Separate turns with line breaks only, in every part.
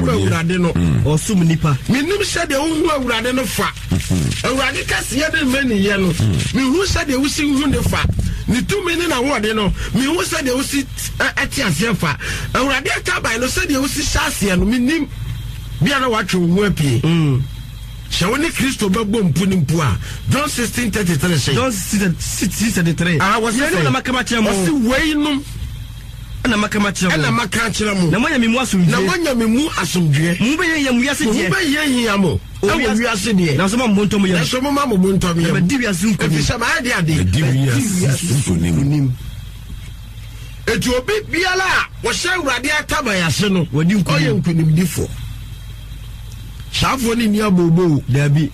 ɔsom Awurade no.
Ɔsom nnipa.
Menim sɛdeɛ wohu Awurade no fa. Awurade kɛseyɛ ne mmaniyɛ no, mehu sɛdeɛ wosi hu ne fa. Ne tumi ne n'ahoɔden no, mehu sɛdeɛ wosi te aseɛ fa. Awurade ataban no, sɛdeɛ wosi hyɛ aseɛ no, menim. Bia na watwe wo ho apue. Sɛ wo ne Kristo bɛbɔ mpu ne mpu a, John 16:33 se.
John 16:33.
Ah, wɔse
Yeinom
sɛ.
na maka makyerɛ mo.
Ɔse weinom.
Ɛna maka makyerɛ mo.
Ɛna maka akyerɛ mo.
Na moanya me mu asomdwoeɛ.
Na moanya me mu asomdwoeɛ.
Mo ho bɛhiahia mo wiase
Mo ho
deɛ.
bɛhiahia mo ɛwɔ wiase deɛ.
Nanso momma mo bo ntɔ mo yam.
Nanso momma mo bo ntɔ mo
Na
yam.
madi wiase so nkonim.
Ɛfiri sɛ mayɛ de ade.
Madi wiase so nkonim.
Eti obi biara a ɔhyɛ Awurade ataban ase no,
Wadi nkonim.
ɔyɛ nkonimdifoɔ. Saafoɔ no nni abooboo.
Daabi.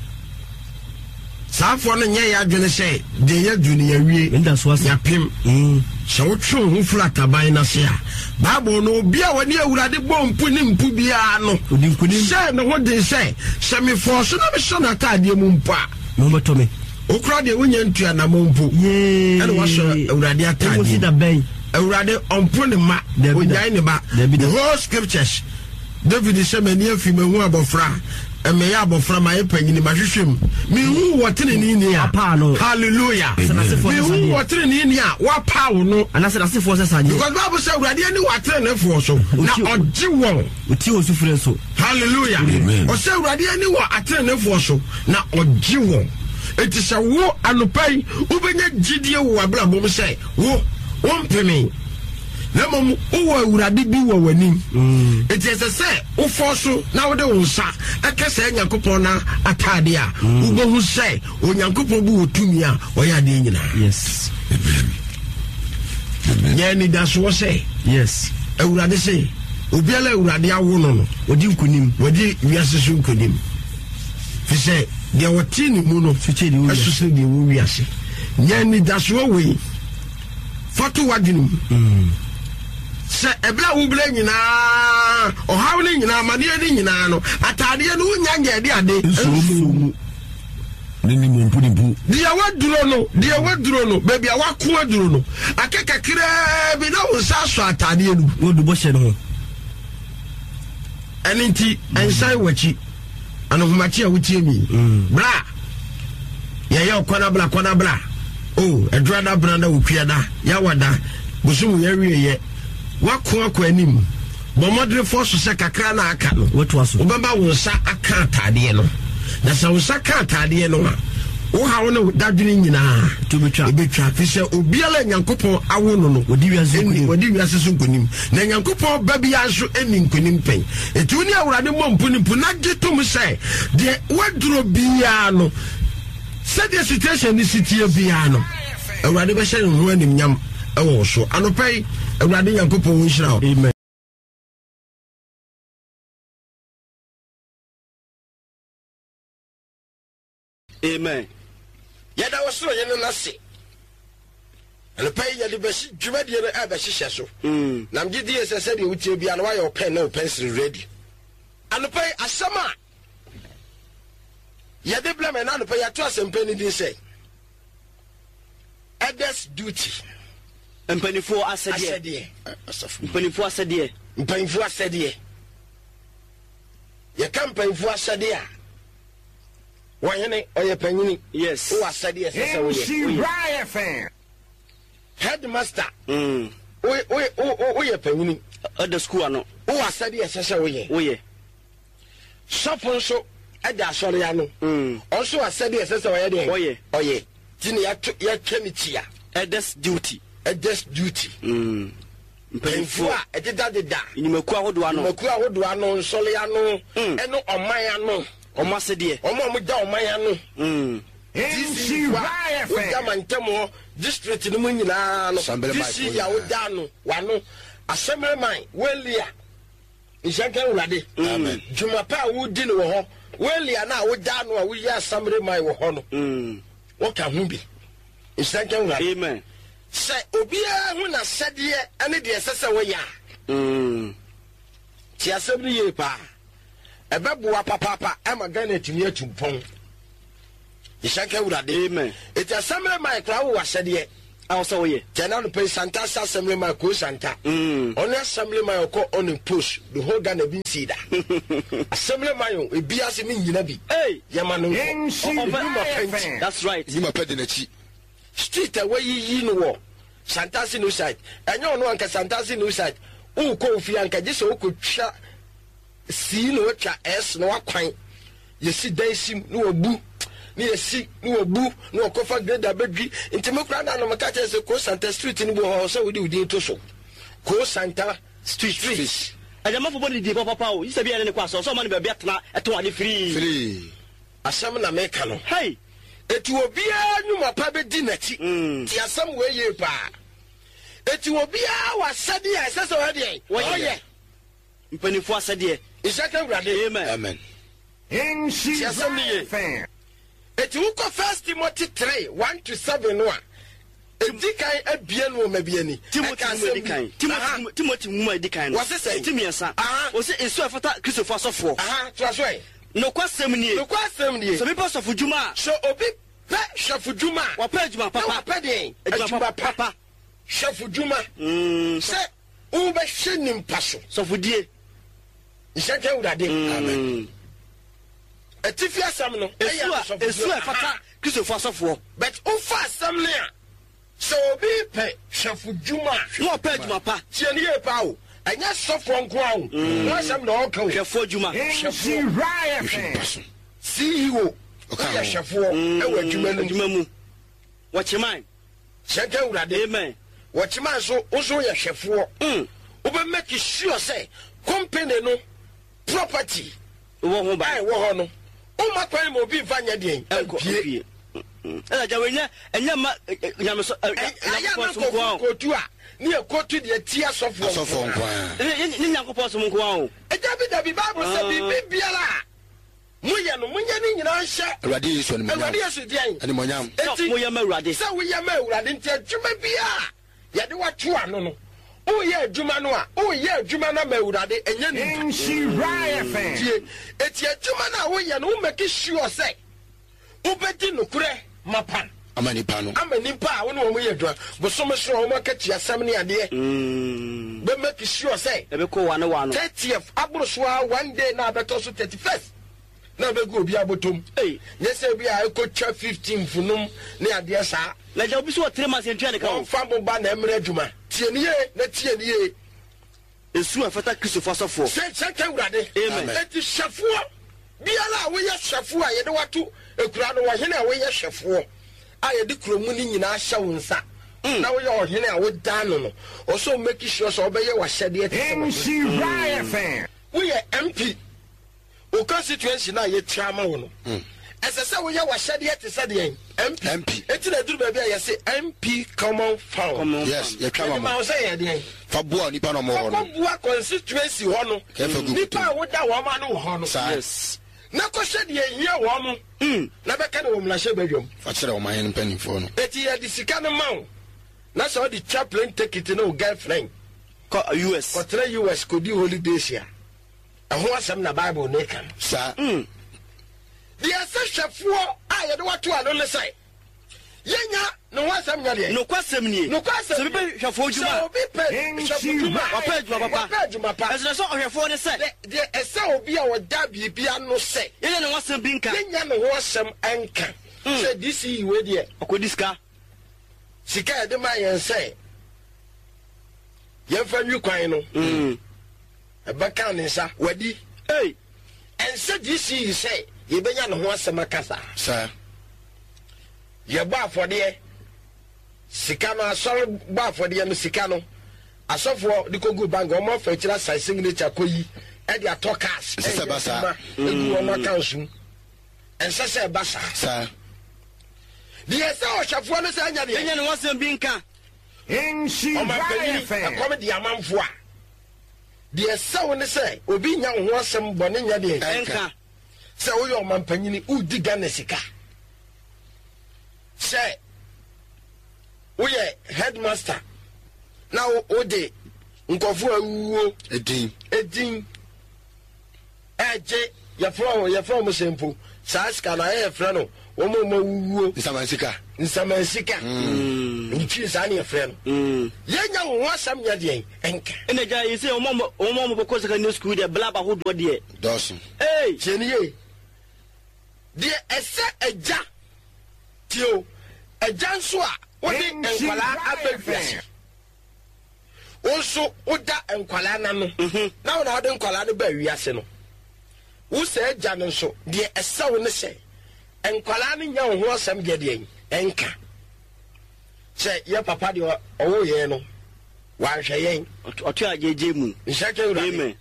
Saafoɔ no nyɛ yɛ adwene sɛ deɛ yɛadu no yɛawie,
Meda so ase.
yɛapem. Sɛ wotwe wo ho firi ataban no ase a, Bible no, obi a ɔne Awurade bɔ mpu ne mpu biara no,
Ɔdi nkonim.
hyɛɛ ne ho den sɛ, sɛ mefɔɔ so na mesɔ n'ataadeɛ mu mpo a,
Me ho bɛtɔ me.
Wo koraa deɛ wonya ntu anamɔ mpo
Yee.
ɛna wasɔ Awurade ataadeɛ
Ɛnkosi da bɛn?
Awurade ɔmpo ne mma,
Dabi da.
ɔnyae ne ba.
Dabi da.
The whole scriptures, David sɛ m'ani afi mahu abɔfra, meyɛ abɔfra mayɛ panyini mahwehwɛ mu mehu wɔ teneneeni a
Wapaa no.
Hallelujah.
Sɛ n'asefoɔ sɛ
Mehu
sadeɛ.
wɔ teneneeni a wapaw no.
Anaasɛ n'asefoɔ sɛ sadeɛ.
Because Bible sɛ Awurade ani wɔ ateneneefoɔ so na
Ɔtie-
ɔgye wɔn.
Ɔtie wɔn sufrɛ nso.
Hallelujah.
Amen.
Ɔsɛ Awurade ani wɔ ateneneefoɔ so na ɔgye wɔn. Enti sɛ wo anɔpa yi wobɛnya gyidie wɔ w'abrabɔ mu sɛ wo wompeme na mmom wowɔ Awurade bi wɔ w'anim.
Mm.
Enti ɛsɛ sɛ wofɔ so na wode wo nsa ɛka saa Nyankopɔn no ataade a mm. wobɛhu sɛ Onyankopɔn bi wɔ tumi a ɔyɛ adeɛ nyinaa.
Yes.
Amen.
Nyɛ anidasoɔ sɛ.
Yes.
Awurade se obiara Awurade awo no no.
Ɔdi nkonim.
Wɔdi wiase so nkonim. Fi sɛ deɛ wɔte ne mu no ɛso sene deɛ wɔ wiase. Nyɛ anidasoɔ wei fa to w'adwene mu.
Mm.
Sɛ ɛberɛ a wobrɛ nyinaa, ɔhaw no nyinaa, amaneɛ no nyinaa no, ataadeɛ no wonya nyɛ ɛde ade
nsuo mu. Ne ne mu mpu ne mpu.
Deɛ waduro no, deɛ waduro no, baabi a wako aduro no, aka kakraa bi na wo nsa asɔ ataadeɛ no mu.
Wodu bɔhyɛ no ho.
Ɛno nti, nsan w'akyi. Anohomakye a wotie mi.
Mm.
Bra! Yɛyɛ ɔkwanabla kwanabla. O, oh, ɛdurada brada okuada, yawada, bosom yɛawieyɛ. Wako akɔ anim. Bɔ mmɔdene fɔ so sɛ kakra na aka no. Wobɛma wo nsa aka ataadeɛ no. Na sɛ wo nsa ka ataadeɛ no a, wo haw ne wo dadwene nyinaa ɛbɛtwa. Fi sɛ obiara a Nyankopɔn awo no no,
wɔdi
wiase so nkonim. Na Nyankopɔn ba biara nso nni nkonim pɛn. Enti wo ne Awurade mmɔ mpo ne mpo na gye tom sɛ deɛ woaduro biara no, sɛdeɛ situation no si teɛ biara no, Awurade bɛhyɛ ne ho animnyam wɔ wo so. Anɔpa yi, Awurade Nyankopɔn wo nhyira wo.
Amen. Amen.
Yɛda wo soro Hene no ase. Anɔpa yi yɛde bɛsi dwumadie no ɛbɛhyehyɛ so.
Mm.
Na megye die sɛ sɛdeɛ wotie biara no woayɛ wo pɛn ne wo pɛnsere ready. Anɔpa yi asɛm a yɛde brɛ me na anɔpa yi yɛato asɛmpa no din sɛ Elders duty.
Mpanimfoɔ asɛdeɛ.
Asɛdeɛ.
Mpanimfoɔ asɛdeɛ.
Mpanimfoɔ asɛdeɛ. Yɛka mpanimfoɔ asɛdeɛ a Wɔhene, ɔyɛ panyini.
Yes.
Wowɔ asɛdeɛ ɛsɛ sɛ woyɛ.
Woyɛ.
Headmaster.
Mm.
Woyɛ panyini.
Ɛda sukuu ano.
Wowɔ asɛdeɛ ɛsɛ sɛ woyɛ.
Woyɛ.
Sɔfo nso ɛda asɔre ano.
Mm.
Ɔnso asɛdeɛ ɛsɛ sɛ ɔyɛ deɛ.
Ɔyɛ.
Ɔyɛ. Ti ne yɛatwa ne kyia.
Elders duty.
Elders duty.
Mm.
Mpanyinfoɔ a ɛdedadeda.
Nnwumakuo ahodoɔ ano.
Nnwumakuo ahodoɔ ano, nsɔre ano,
mm.
ɛne ɔman ano.
Wɔn asɛdeɛ.
Wɔn a wɔda ɔman ano.
Mm.
DC foɔ a woda mantam hɔ, district no mu nyinaa no, DC a woda ano, wano, assemblyman, welia, nhyɛ nka Awurade.
Amen.
Dwuma pa a wodi no wɔ hɔ, welia no a woda ano a woyɛ assemblyman wɔ hɔ no,
mm.
woka ho bi. Nhyira nka Awurade.
Amen.
Sɛ obiara hu n'asɛdeɛ ne deɛ ɛsɛ sɛ wɔyɛ a,
mm.
te asɛm no yie paa. Ɛbɛboa papaapa ama Ghana atumi atu mpɔn. Nhyira nka Awurade.
Amen.
Eti assembly man koraa wowɔ asɛdeɛ.
A ɔsɛ woyɛ.
Tɛ na anɔpa yi Santase assemblyman Koo Santa. Ɔne assemblyman ɔkɔ on post the whole Ghana bi nsii da. Assemblyman o ebi ase me nyina bi.
Hey!
Yɛma no nkɔ. Nnwuma pa nti.
That's right.
Nnwuma pa di n'akyi.
Street a wayiyi no wɔ Santase new site. Ɛnyɛ ɔno anka Santase new site. Wokɔ ofie anka gye sɛ wokɔtwa C na watwa S na wakwan. Yɛsi dan sim na wabu na yɛsi na wabu na wakɔfa grader bɛdwi. Nti me koraa na no meka kyerɛ sɛ Koo Santa street no bi wɔ hɔ sɛ wode wo din to so. Koo Santa
Street.
Street.
Agyamafo bɔ ne din papapa o. Gye sɛ bi a yɛne no kɔ asɔre sɛ ɔma no baabi atena ɛtɔn ade firii.
Firii.
Asɛm na meka no.
Hey!
Eti obiara nnwuma pa bɛdi n'akyi. Te asɛm wei yie paa. Eti obiara wɔ asɛdeɛ a ɛsɛ sɛ ɔyɛ deɛn? Ɔyɛ.
Mpanimfoɔ asɛdeɛ.
Nhyira ka Awurade.
Amen.
Amen.
Te asɛm no yie. Eti wokɔ First Timothy 3, 1 to 7 no a, edi kan abien nwoma bi ani.
Timothy
Ɛka
nwoma
asɛm
edi
bi.
kan.
Aha.
Timothy Timothy nwoma edi kan no.
Wɔse sɛn?
Ti mmiɛnsa.
Aha.
Wɔse nsu a ɛfata Kristofo asɔfoɔ.
Aha, toa so ɛ.
Nokwasɛm nie.
Nokwasɛm nie.
Sɛ obi pɛ sɔfodwuma a.
Sɛ obi pɛ hwɛfodwuma a.
Wapɛ adwuma papa.
Na wapɛ deɛn?
Adwuma papa.
Hwɛfodwuma. Sɛ wobɛhwɛ nimpa so.
Sɔfodie.
Nhyɛ nka Awurade.
Amen.
Atifi asɛm no.
Esu a esu a ɛfata Kristofo asɔfoɔ.
But wofa asɛm no a, sɛ obi pɛ hwɛfodwuma a.
Na ɔpɛ adwuma pa.
Tie no yie paa o. Ɛnyɛ sɔfoɔ nko ara o. Ho asɛm na ɔreka o.
Hwɛfoɔ adwuma.
Hwɛfoɔ.
Hwɛ nipa so.
CEO.
Ɔka
Woyɛ
ho.
hwɛfoɔ ɛwɔ adwuma no mu.
Adwuma mu. Wɔkyeman.
Hyɛ nka Awurade.
Amen.
Wɔkyeman nso, wo nso woyɛ hwɛfoɔ. Wobɛ make sure sɛ company no property
Wɔ ho
a
ban.
ɛwɔ hɔ no, womma kwan ma obi mfa nyɛ deɛn?
Ɛnkɔ
Mpie.
mpie. Ɛna gya wei nyɛ ɛnyɛ mma nyameso ɛ
Ɛ- Ɛyɛ a na
Nyankopɔn som nko
nkurɔfoɔ
ara o.
kootu a, ne yɛ kootu deɛ tia asɔfoɔ
Asɔfoɔ nko ara.
Ɛnyɛ nyɛ Nyankopɔn som nko ara o.
Dabi dabi, Bible sɛ biribi biara a moyɛ no, monyɛ ne nyinaa nhyɛ
Awurade Yesu animuonyam.
Awurade Yesu deɛn?
Animuonyam.
Sɛ
Enti,
moyɛ ma Awurade.
sɛ woyɛ ma Awurade nti adwuma biara a yɛde wato ano no, woyɛ adwuma no a, woyɛ adwuma no ama Awurade, ɛnyɛ nipa. Tie, eti adwuma no a woyɛ no, wo make sure sɛ wobɛdi nokorɛ mapa
Ama nipa no.
ama nipa a wo ne wɔn yɛ adwuma. Bosome so a wɔn akatua asɛm ne adeɛ, bɛ make sure sɛ
Ɛbɛkɔ wa ne wa no.
30th aboro so ara one day na abɛtɔ so 31st na abɛgu obi abotom.
Ei.
Nyɛ sɛ bi a ɛkɔtwa 15th nom ne adeɛ saa.
Na gya obi so wɔ 3 months yɛntua ne ka o.
Wɔmfa mo ba na ɛmmrɛ adwuma. Tie no yie na tie no yie.
Esu a ɛfata Kristofo asɔfoɔ.
Sɛ sɛ ka Awurade.
Amen.
Enti hwɛfoɔ biara a woyɛ hwɛfoɔ a yɛde wato akura no, ɔhene a woyɛ hwɛfoɔ a yɛde kuro mu no nyinaa hyɛ wo nsa na woyɛ ɔhene a woda ano no, ɔsɛ wo make sure sɛ wobɛyɛ w'ahyɛdeɛ te sɛ w'ahene. Woyɛ MP, wo constituency no a yɛtua ama wo no, ɛsɛ sɛ woyɛ w'ahyɛdeɛ te sɛ deɛn? MP.
MP.
Enti na ɛduru baabi a yɛse MP Common Fund.
Common
Yes,
fund.
yɛtwa
Yɛde
ma
ma
mo.
wo sɛ yɛ deɛn?
Fa boa nipa na ɔmo wɔ hɔ no.
Kɔkɔboa constituency hɔ no.
Kɛfɛ gu
Nipa a
kutom.
woda wɔn ano wɔ hɔ no.
Saa.
Yes.
Na kɔhwɛ deɛ ehia wɔn mo. Na bɛka no wɔ mmarahyɛ badwam.
Fa kyerɛ ɔman no mpanimfoɔ no.
Eti yɛde sika no ma wo na sɛ ɔde twa plane ticket ne wo girlfriend
Kɔ US.
kɔtena US kɔdi holidays a, ɛho asɛm na Bible no ka no.
Saa.
Deɛ ɛsɛ hwɛfoɔ a yɛde wato ano ne sɛ yɛnya ne ho asɛm nyɛ deɛ.
Nokwasɛm nie.
Nokwasɛm
Sɛ obi pɛ hwɛfoɔ adwuma
Sɛ
a.
obi pɛ hwɛfo dwuma a.
Wapɛ adwuma papa.
Wapɛ adwuma pa.
Ɛsɛ sɛ ɔhwɛfoɔ ne sɛ.
Deɛ ɛsɛ obi a ɔda biribi ano sɛ.
Yɛnya ne ho asɛm bi nka.
Yɛnya ne ho asɛm nka. Sɛ DCE wei deɛ.
Ɔkɔdi sika.
Sika a yɛde maa yɛn sɛ yɛmfa nwi kwan no. Ɛbɛka ne nsa wadi.
Ei.
Ɛnsɛ DCE sɛ yɛbɛnya ne ho asɛm aka saa.
Saa.
Yɛbɔ afɔdeɛ sika no asɔre bɔ afɔdeɛ no sika no asɔfoɔ de kɔgu bank wɔn afa akyire asan signature kɔyi ɛde atɔ cars
Ɛnsɛ sɛ ɛba saa.
ɛyɛ adwuma egu wɔn accounts mu. Ɛnsɛ sɛ ɛba saa.
Saa.
Deɛ ɛsɛ ɔhwɛfoɔ no sɛ ɛnyɛ deɛ.
Yɛnya ne ho asɛm bi nka.
Ɔmanpanyin ɛkɔm de amanfoɔ a deɛ ɛsɛ wo ne sɛ obi nya wo ho asɛm bɔne nyɛ deɛ.
Ɛnka.
Sɛ woyɛ ɔmanpanyin wodi Ghana sika. Sɛ woyɛ headmaster na wode nkurɔfoɔ awuo
Edin.
edin ɛgye. Yɛfrɛ wɔn, yɛfrɛ wɔn sɛ mpo saa sika no ayɛ yɛfrɛ no wɔn a wɔn awuwuo.
Nsamansika.
Nsamansika. Mm. Ntwi saa ne yɛfrɛ no. Mm. Yɛnya wɔn ho asɛm nyɛ deɛn nka.
Ɛna gya yi sɛ wɔn a wɔn a wɔbɛkɔ secondary school deɛ blab ahodoɔ deɛ.
Dɔɔso.
Ee.
Tie ne yie. Deɛ ɛsɛ agya tie o agya nso a wode nkwadaa aba wiase. Wo nso woda nkwadaa no ano mhm. na wo na wode nkwadaa no baa wiase no. Wo sɛ agya no nso, deɛ ɛsɛ wo ne sɛ nkwadaa no nya wo ho asɛm deɛ deɛ ɛnka. Sɛ yɛ papa deɛ ɔwo yɛn no, wanhwɛ yɛn.
Ɔto agyegye mu.
Nhyɛ kɛ wura.
Amen.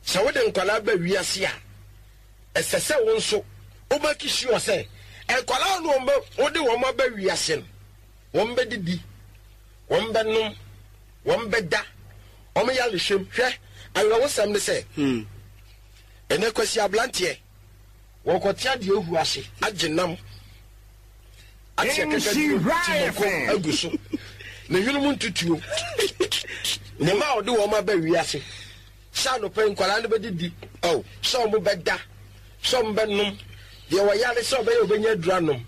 Sɛ wode nkwadaa ba wiase a, ɛsɛ sɛ wo nso wobɛki sure sɛ nkwadaa no wode wɔn aba wiase no, Wɔbɛdidi, wɔbɛnom, wɔbɛda, wɔn yarehwɛm. Hwɛ, awerɛhosɛm ne sɛ, ɛnɛ Kwasi aberanteɛ, wɔkɔte adeɛ ahu ase, agye nam, ate akakaduro, te mako agu so, ne hwene mu ntutuo, ne mma a ɔde wɔn aba wiase, sɛ anɔpa yi nkwadaa no bɛdidi, oh, sɛ wɔbɛda, sɛ wɔbɛnom, deɛ wɔyare sɛ ɔbɛyɛ ɔbɛnya aduro anom.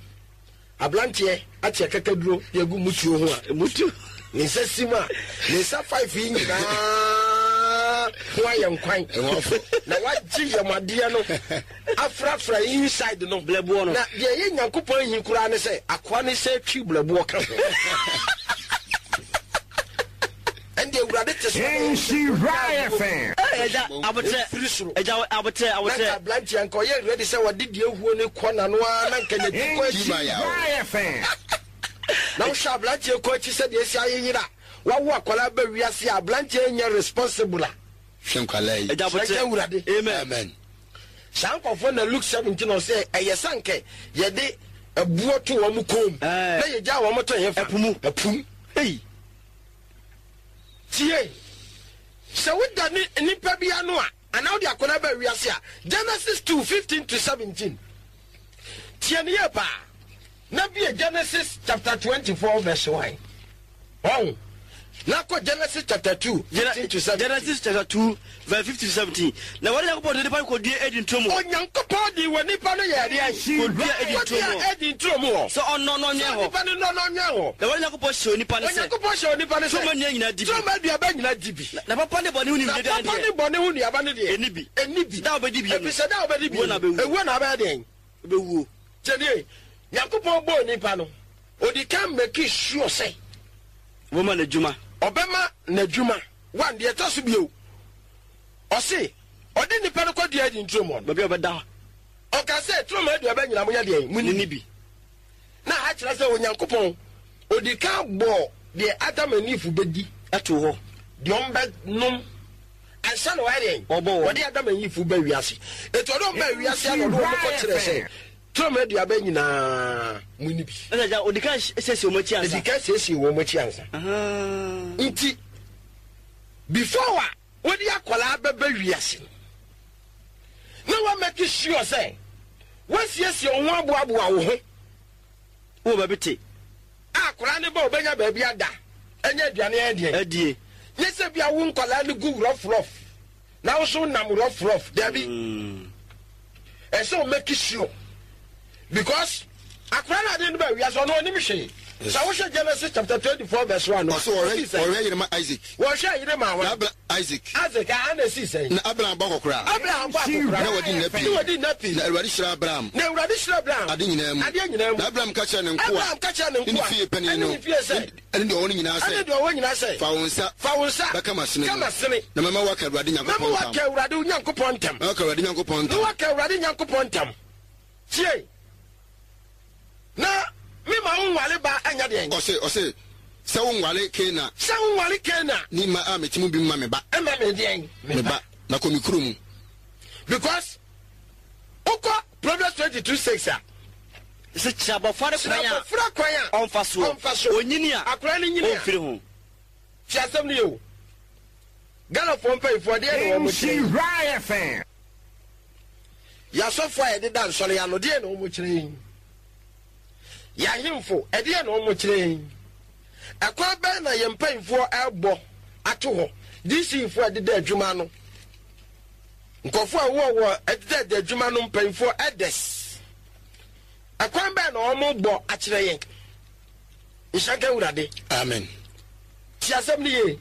Abranteɛ ate akakaduro de agu mutuo ho a,
Mutuo.
ne nsa sim a, ne nsa five yi nyinaa ho ayɛ nkwan. Na wagye yam adeɛ no afrafra inside no.
Blɛboɔ no.
Na deɛ ɛyɛ Nyankopɔn ahi koraa ne sɛ, akoa no sɛ twi blɛboɔ ka ho. Ɛnde Awurade te so.
Nhyira FM.
Ɛgya abotrɛ.
Ɛfiri soro.
Ɛgya abotrɛ abotrɛ.
Na nka aberanteɛ nka ɔyɛ ready sɛ wɔde deɛ huo no kɔ n'ano ara na nka n'akyi kɔ akyi.
Nhyira FM.
Na wohwɛ aberanteɛ kɔ akyi sɛdeɛ esi ayeyere a wawo akwadaa ba wiase a aberanteɛ nyɛ responsible a.
Hwɛ nkwadaa yi.
Ɛgya abotrɛ.
Hyɛ Awurade.
Amen.
Amen.
Saa nkurɔfoɔ na Luke 17 ɔsɛ ɛyɛ sɛ anka yɛde ɛboɔ to wɔn kɔn mu na yɛgya wɔn to hefa?
Ɛpo mu.
Ɛpo mu.
Hey.
Tie! Sɛ woda ne nipa bi ano a, anaa wode akwadaa ba wiase a, Genesis 2, 15 to 17. Tie no yie paa. Na bie Genesis chapter 24 verse 1. Ɔn. Na kɔ Genesis chapter 2, 15 to 17.
Genesis chapter 2 verse 15 to 17. Na Awurade Nyankopɔn de nipa no kɔdua Eden turo mu hɔ.
Onyankopɔn de wɔ nipa no yɛɛ deɛn?
Kɔdua Eden turo mu hɔ.
Kɔdua Eden turo mu hɔ.
Sɛ ɔnnɔ na ɔnwɛn
Sɛ
hɔ.
nipa no nnɔ na ɔnwɛn hɔ.
Na Awurade Nyankopɔn hyɛɛ onipa no sɛ.
Onyankopɔn hyɛɛ onipa no sɛ.
Turo mu nnua nyinaa di bi.
Turo mu aduaba nyinaa di bi.
Na papa ne bɔne ho nimdeɛ
Na
dua no
papa
deɛ.
ne bɔne ho nnuaba no deɛ.
Ɛnni bi.
Ɛnni bi.
Da a wobɛdi bi no.
Ɛfiri sɛ da a wobɛdi bi
Wuo na
no,
wobɛwu.
ewuo na wobɛyɛ deɛn?
Wobɛwuo.
Tie nie, Nyankopɔn bɔɔ nipa no, ɔdi kan make sure sɛ.
Ɔbɛma n'adwuma.
Ɔbɛma n'adwuma. One, deɛ ɛtɔ so bio, ɔse ɔde nipa no kɔdua Eden turo mu hɔ no.
Baabi a ɔbɛda.
Ɔka sɛ, turo mu aduaba nyinaa monyɛ deɛn? Monni
Monni bi.
Na ha kyerɛ sɛ Onyankopɔn, ɔdi kan bɔɔ deɛ Adam and Eve bɛdi.
Too hɔ.
Deɛ wɔbɛnom ansa na wɔayɛ deɛn?
Wɔbɔ wɔn.
Wɔde Adam and Eve ba wiase. Enti ɔde wɔn baa wiase a na ɔde wɔn kɔkyerɛɛ sɛ, turo mu aduaba nyinaa monni bi.
Ɛna agya, ɔdi kan siesie wɔn akyi ansa.
Ɔdi kan siesie wɔn akyi ansa. Nti, before a wode akwadaa bɛba wiase no, na woamake sure sɛ woasiesie wo ho aboaboa wo ho.
Wowɔ baabi te.
A akwadaa no ba a ɔbɛnya baabi ada, anya aduane ayɛ deɛn?
Adie.
Nyɛ sɛ bia wo nkwadaa no gu rough rough na wo nso wonam rough rough. Dabi. Ɛsɛ wo make sure because akwadaa no ade no ba wiase ɔno ɔnim hwee. Sɛ wohwɛ Genesis chapter 24 verse 1 no,
Ɔsɛ wɔhwɛ
ɛsi sɛn?
wɔhwɛ yere ma Isaac.
Wɔhwɛ yere ma
Na
hwan?
Abra Isaac.
Isaac, a ana ɛsi sɛn?
Na Abraham bɔ akɔkora.
Abraham bɔ akɔkora.
Na wadi nna pii.
Na wadi nna pii.
Na Awurade hyira Abraham.
Na Awurade hyira Abraham.
Ade nyinaa mu.
Adeɛ nyinaa mu.
Na Abraham ka kyerɛɛ ne nkoa.
Abraham ka kyerɛɛ ne
Ne ne
nkoa.
fie panin
Ɛne
no.
ne fie sɛ.
Ne deɛ ɔwɔ no nyinaa sɛ.
Ɛne deɛ ɔwɔ nyinaa sɛ.
Fa wo nsa.
Fa wo nsa.
Bɛka m'asene
Ka
mu.
m'asene.
Na mɛma woaka Awurade
Na
Nyankopɔn
mɛma
ntam.
woaka Awurade Nyankopɔn ntam.
Na woaka Awurade Nyankopɔn
Na
ntam.
woaka Awurade Nyankopɔn ntam. Tie. Na me ma wo nware ba ɛnyɛ deɛn?
Ɔse, ɔse, sɛ wo nware Kana.
Sɛ wo nware Kana.
Ne mma a mete mu bi mma me ba.
Mma me deɛn?
Me ba. Na kɔ me kuro mu.
Because wokɔ Proverbs 22:6 a.
Sɛ kyerɛ abɔfra no kwan a.
Kyerɛ abɔfra kwan a.
Ɔmfa soɔ.
Ɔmfa so.
Onyini a.
Akwadaa no nyini a.
Ɔmfiri ho.
Tie asɛm no yie o. Ghanafoɔ mpanyinfoɔ deɛn na wɔn kyerɛ yi?
Nhyira FM.
Yɛn asɔfoɔ a yɛdeda nsɔre ano, deɛn na wɔkyerɛ yɛn? Yɛn ahemfo, ɛdeɛn na wɔkyerɛ yɛn? Ɛkwan bɛn na yɛn mpanyinfoɔ ɛrebɔ ato hɔ? DC foɔ a ɛdeda adwuma ano. Nkurɔfoɔ a wowɔ wɔ ɛdedɛɛdɛ adwuma no mpanyinfoɔ elders. Ɛkwan bɛn na wɔn bɔ akyerɛ yɛn? Nhyira nka Awurade.
Amen.
Ti asɛm no yie.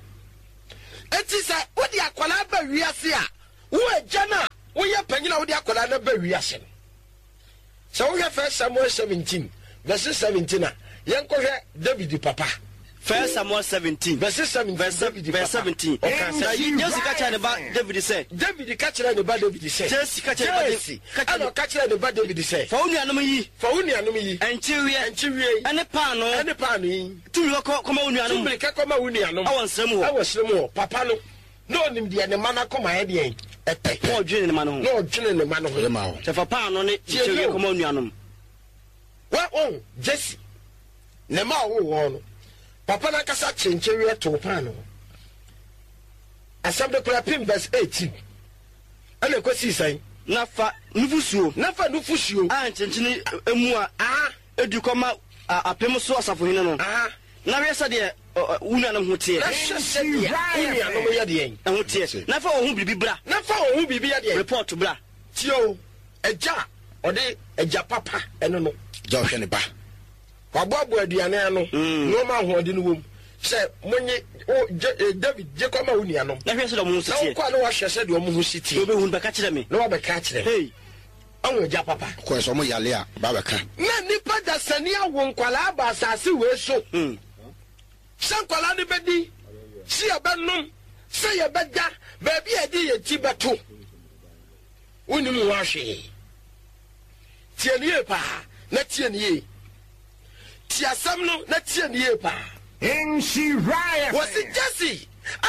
Eti sɛ wode akwadaa ba wiase a, wo agya no a woyɛ panyin a wode akwadaa no ba wiase no. Sɛ wohwɛ First Samuel 17 verse 17 a, yɛnkɔhwɛ David papa.
First Samuel 17
verse 17,
verse
David papa.
Verse 17.
Ɔka sɛ,
Na Jesse ka kyerɛɛ ne ba David sɛ.
David ka kyerɛɛ ne ba David sɛ.
Jesse ka kyerɛɛ ne ba
Jesse ɛna ɔka kyerɛɛ ne ba David sɛ.
Fa wo nuanom yi.
Fa wo nuanom yi.
Nkyeweɛ.
Nkyeweɛ yi.
Ɛne paanoo.
Ɛne paanoo yi.
Tu mmirika kɔ kɔma wo nuanom.
Tu mmirika kɔma wo nuanom.
Ɛwɔ nsra mu hɔ.
Ɛwɔ srɛ mu hɔ. Papa no, na ɔnim deɛ ne mma no akoma yɛ deɛn? Ɛpɛ.
Na ɔdwene ne mma no ho.
Na ɔdwene ne mma no ho.
Ɔyɛ ma wo.
Sɛ fa paanoo ne
Tie
nkyeweɛ
me o.
kɔma wo nuanom.
Wa wɔn Jesse ne mma a ɔwoo wɔn no, papa no ankasa kyee nkyeweɛ too paanoo. Asɛm no koraa pem verse 18. Ɛna ɛkɔsii sɛn?
Na fa nufosuo.
Na fa nufosuo.
A nkyenkyene mua.
Aha.
Edu kɔma apem so asafohene no.
Aha.
Na hwɛ sɛdeɛ wo nuanom ho teɛ.
Na hwɛ sɛdeɛ wo nuanom yɛ deɛn?
Ɛho teɛ. Na fa wɔn ho biribi bra.
Na fa wɔn ho biribi yɛ deɛn?
Report bra.
Tie o, agya a ɔde agya papa ɛno no.
Agya ɔhwɛ ne ba.
Waboaboa aduane ano, nneɛma ahoɔden wom sɛ monye wo gye eh, David gye kɔma wo nuanom.
Na hwɛ sɛdeɛ wɔn ho si
Na
teɛ.
wokɔ a na wahwɛ sɛdeɛ wɔn ho si
Na
teɛ.
wobɛhu no bɛka kyerɛ me.
Na wabɛka akyerɛ me.
Hei!
Ɔho agya papa.
Ɔkɔɛ sɛ ɔmo yale a, ɔba abɛka.
Na nnipa dasani awo nkwadaa aba asase wei so. Sɛ nkwadaa no bɛdi, sɛ yɛbɛnom, sɛ yɛbɛda, baabi a yɛde yɛn ti bɛto, wonnim ho ahwee. Tie no yie paa na tie no yie. Tie asɛm no na tie no yie paa.
Nhyira
Wɔsi
FM.
Jesse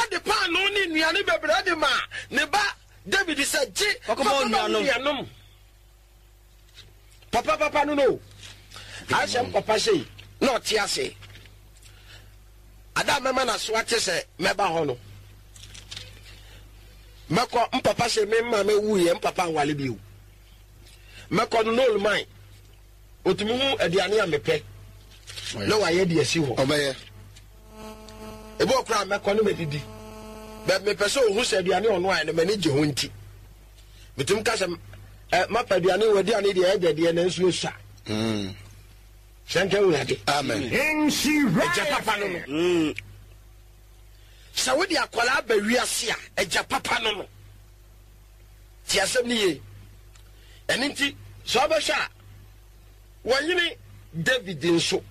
de paanoo ne nnuane bebree de maa ne ba David sɛ, Gye fa
Kɔkɔma wo
kɔma wo
nuanom.
nuanom. Papa papa no no. Ahyɛ m papa sei na ɔte ase. Ada a mɛma n'aso ate sɛ mɛba hɔ no. Mɛkɔ m papa sɛ me maame wuiɛ m papa nwale bio. Mɛkɔ no no man. Otumi hu aduane a mepɛ na wayɛ de asi hɔ.
Ɔbɛyɛ.
Ebi wɔ koraa mɛkɔ no mɛdidi. Bɛ mepɛ sɛ ohu sɛ aduane ɔno ayɛ no m'ani gye ho nti. Metumi ka sɛ ɛ mapa aduane wɔ aduane deɛ ɛdɛ deɛ nanso esua.
Mm.
Hyɛ nka Awurade.
Amen.
Nhyira
Agya papa no no.
FM.
Sɛ wode akwadaa ba wiase a, agya papa no no. Te asɛm no yie. Ɛno nti, sɛ ɔbɛhwɛ a, wɔnyene David nso.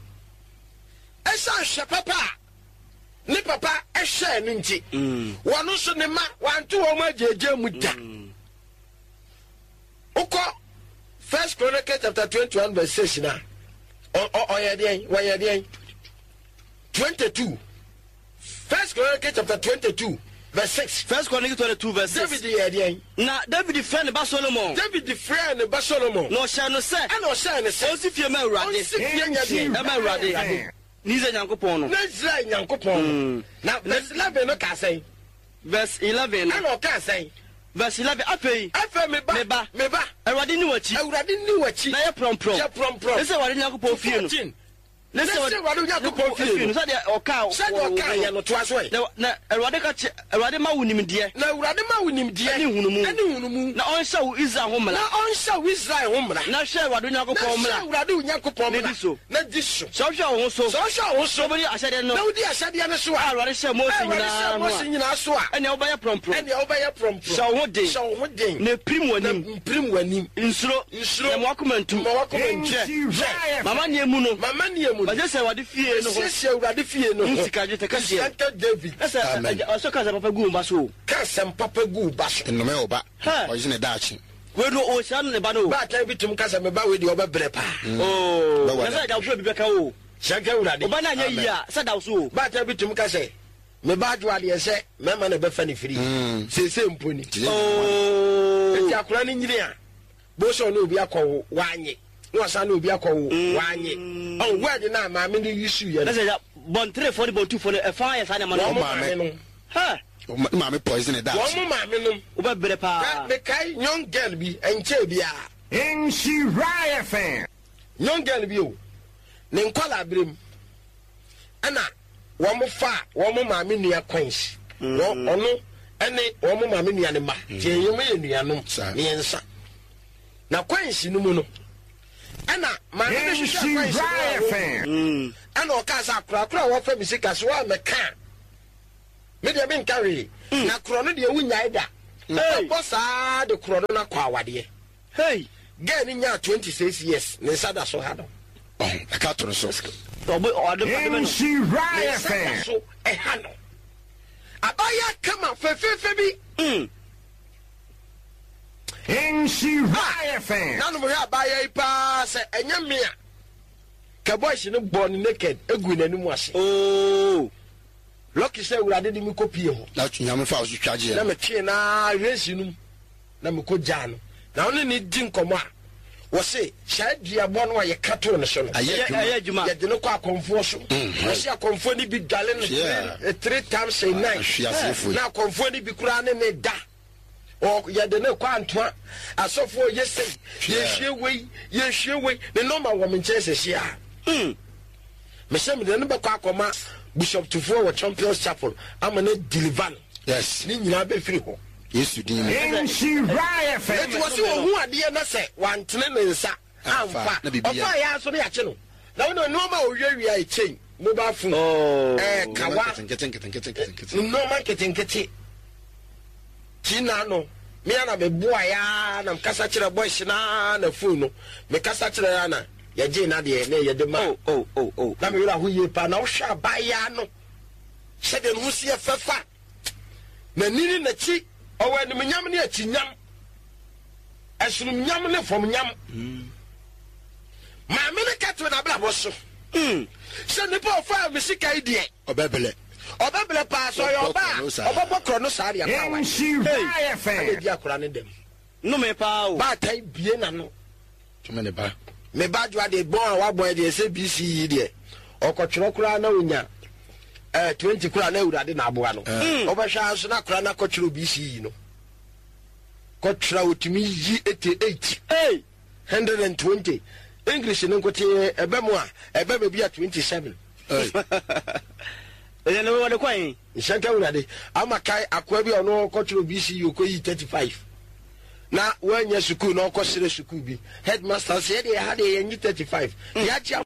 Ɛsiane hwɛ papa a ne papa hwɛɛ no nti, wɔn nso ne mma wanto wɔn agyeegyee mu da. Wokɔ First Chronicles chapter 21 verse 6 na ɔyɛ deɛn? Wɔyɛ deɛn? 22. First Chronicles chapter 22 verse 6.
First Chronicles 22 verse 6.
David yɛ deɛn?
Na David frɛɛ ne ba Solomon.
David frɛɛ ne ba Solomon.
Na ɔhyɛɛ no sɛ.
Ɛna ɔhyɛɛ no sɛ.
Ɔnsi fie ma Awurade.
Ɔnsi fie nyɛ deɛn?
Ɛma Awurade. Ne Israel Nyankopɔn no.
Ne Israel Nyankopɔn no. Na verse 11 no kaa sɛn?
Verse 11 no.
Ɛna ɔkaa sɛn?
Verse 11, Afei.
Afei me ba.
Me ba.
Me ba.
Awurade nni w'akyi.
Awurade nni w'akyi.
Na yɛ prɔmprɔm.
Yɛ prɔmprɔm.
Ne sɛ Awurade Nyankopɔn fie no.
14.
Ne
Ne
sɛ
sɛ Awurade Onyankopɔn fie no.
Sɛdeɛ ɔkaa
Sɛdeɛ ɔkaa yɛ no, toa so ɛ.
Na, na Awurade ka kyerɛ, Awurade ma wo nimdeɛ.
Na Awurade ma wo nimdeɛ.
Ɛne nhunumu.
Ɛne nhunumu.
Na ɔnhyɛ wo Israel ho mmara.
Na ɔnhyɛ wo Israel ho mmara.
Na hwɛ Awurade Onyankopɔn mmara.
Na hwɛ Awurade Onyankopɔn mmara.
Na di so.
Na di so.
Sɛ wohwɛ wo ho so.
Sɛ wohwɛ wo ho so.
Na wobɛdi ahyɛdeɛ no.
Na wodi ahyɛdeɛ no so a.
A Awurade hyɛɛ Mose
A Awurade
nyinaa
hyɛɛ
no a.
Mose nyinaa so a.
Ɛnneɛ wobɛyɛ prɔmprɔm.
Ɛnneɛ wobɛyɛ prɔmprɔm.
Hyɛ wo ho den.
Hyɛ wo ho den.
Na pirim w'anim.
Na mpirim w'anim.
Nsuro.
Nsuro.
Na mma w'akoma ntu.
Mma w'akoma ntu.
Hwɛ.
Hwɛ.
M'amanneɛ mu no.
M'amanneɛ mu no.
Masiesie Awurade fie no ho.
Masiesie Awurade fie no ho.
Ho sika dwetɛ kɛseɛ.
Nhyira nka David.
Na sɛ
Amen.
agya ɔsɔ ka asɛm papa gu wo ba so o.
Ka asɛm papa gu wo ba so.
Nnome wo ba.
Hɛ.
Ɔgye ne daakye.
Wei no ɔhyira no ne ba no o.
Baatan bi tum ka sɛ me ba wei deɛ ɔbɛbrɛ paa.
Oo.
Bɛware.
Na sɛ agya wohwɛ obi bɛka o.
Hyira nka Awurade.
Wo ba no anyɛ
Amen.
yie a sɛ da wo so o.
Baatan bi tum ka sɛ me ba adwo adeɛ sɛ mɛma na ɛbɛfa ne firi. Seesei mpo ni.
Oo.
Eti akwadaa no nyini a, bo sɛ ɔne obi akɔwo, wanye. Na wasan ne obi akɔwo, wanye. Ɔn word no a maame no use yɛ
Na
no.
sɛ agya bɔnterefoɔ ne bɔntufoɔ no ɛfa yɛ saa nneɛma no.
Wɔn
Wɔn
maame
maame.
no.
Hɛ.
Ne maame poison ne daakye.
Wɔn maame nom.
Wobɛbrɛ paa.
Mekae young girl bi, ɛnkyɛɛ biara.
Nhyira FM.
Young girl bi o, ne nkwadaa berɛ mu ɛna wɔn faa wɔn maame nua coins. Wɔn ɔno Ɛne wɔn maame nua ne mma. Nti mm. yɛn yɛ nuanom mmiɛnsa. Na kwansi no mu no, ɛna maame no hwehwɛ kwansi no a wɔn mm. Ɛna ɔkaa sɛ akorakora a wɔfɛ me sika so a mɛka a, me deɛ menka hwee. Mm. Na korɔ no deɛ wonyae da. Wobɛbɔ saa de korɔ no no akɔ awadeɛ.
Hey!
Girl no nyaa 26 years, ne nsa da so ha no.
Ɛka to no so.
Ne nsa da so ɛha no. Abaayewa kama fɛfɛɛfɛ bi.
Mm.
Nhyira FM.
Nanom hwɛ abaayewa yi paa sɛ ɛnyɛ me a. Kɛ boys no bɔɔ no naked egu n'anim ase.
Oh.
Lucky sɛ awurade de me kɔ pie hɔ.
Na nyame fa so twa gyeɛ.
Na metwee na hwɛ no mu. Na mekɔgyaa no, na ɔne no di nkɔmmɔ a, wɔse saa duabɔ no a yɛka too no so no,
Ɛyɛ
adwuma.
yɛde no kɔ akɔmfoɔ so. Wɔse akɔmfoɔ no bi dwale no three times a night. Na akɔmfoɔ no bi koraa ne ne da. Yɛde no kɔ antoa. Asɔfoɔ yɛ sei, yɛhwie wei, yɛhwie wei. Ne nɔma wɔ me nkyɛn sɛsi a. Mesɛ mede no bɛkɔ akɔma Bishop Tufoɔ wɔ Champions Chapel ama no deliver no.
Yes.
Ne nyinaa bɛfiri hɔ.
Yesu din mu.
Nhyira FM.
Enti wɔse ɔhu adeɛ na sɛ wantene ne nsa amfa a, ɔfaa yɛ ara nso na yɛakye no. Na wone nnoɔma a ɔwiawia yɛ chain, mobile phone, ɛɛ kawa, nnoɔma nketenkete. Ti na no, me ara na meboaeɛ ara na mekasa kyerɛ boys no ara na phone no, mekasa kyerɛ ara na yɛgyee n'adeɛ na yɛde ma. Na me werɛ aho yie paa. Na wohwɛ abaayewa no sɛdeɛ ne ho si yɛ fɛfa. N'ani ne n'akyi, ɔwɔ animuonyam ne akyinyam, ɛsoromnyam ne famnyam. Maame no ka to n'abrabɔ so sɛ nipa ɔfaa me sika yi deɛ
ɔbɛbrɛ,
ɔbɛbrɛ paa. Sɛ ɔyɛ ɔbaa a, ɔbɛbɔ korɔ no saa deɛ paa wa. Ɛna edi akora ne dɛm.
Nnome paa o.
Baatan bie n'ano.
Tumi ne ba.
Me ba dwoa deɛ bɔn a wabɔ deɛ sɛ BC yi deɛ ɔkɔtwerɛ koraa na onya eh, 20 koraa na awurade na aboa no. Wobɛhwɛ ara nso na koraa na kɔtwerɛ BC yi no. Kɔtwerɛ otumi yi 88.
Hey!
120. English no nkote ɛbɛ mu a ɛbɛ baabi a 27.
Ɛyɛ no wɔde kɔ yi.
Nhyɛnka awurade ama kae akoa bi a ɔno ɔkɔtwerɛ BC yi ɔkɔyi 35. Na wanya sukuu na ɔkɔsrɛ sukuu bi headmaster sɛ yɛdeɛ ha deɛ yɛnye 35 yɛagye.